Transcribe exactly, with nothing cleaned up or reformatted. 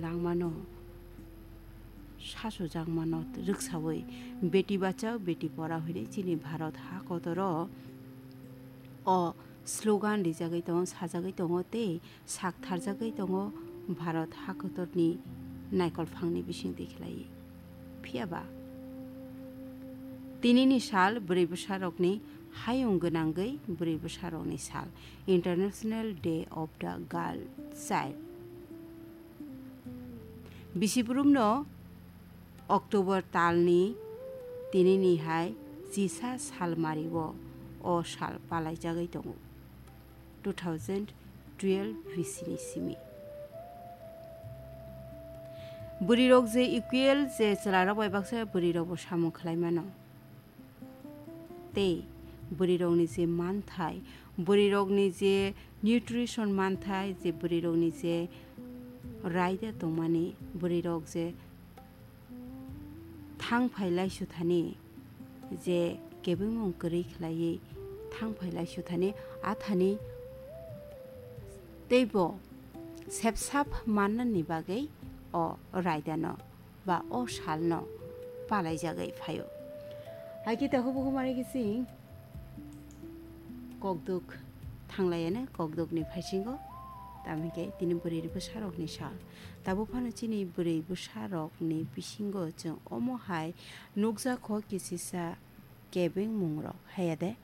rangmano, sasu jangmano rwksawi Beti Bachao Beti Padhao hwnwi chini Bharat hakotoro o slogan rijagwi tongo, sajagwi tongo tei sak tharjagwi tongo Bharat hakotorni naikolphangni bisingtwi khlaiwi. Phiya ba, tinini sal bwrwi bwsarokni hayung gwnangwi bwrwi bwsarokni sal, International Day of the Girl Child. Bisibrumno October talni tinini hai chisa salmario o sal palaijagwi tongo, two thousand twelve B C ni simi. Bwrwirok je equal, je chwlarok bai baksa bwrwirokbo samung khlai mano. Tei bwrwirokni je manthai, bwrwirokni je nutrition manthai, je bwrwirokni je raida tongmani, bwrwirok je thang phai lai suthani, je kebengmung kwrwi khlaiwi thang phai lai suthani, athani teibo sepsap mannani bagwi o raidano ba o salno palaijagwi phaio. Hai khe takhuk bukhuk mari khe chwng kokduk thanglaiya ne kokdukni phaisingo, tamo hinkhe tini bwrwi bwsarokni sal. Tabuk phano chini bwrwi bwsarokni bisingo chwng omo hai nukjakho kisisa kebengmungrok, haiya de?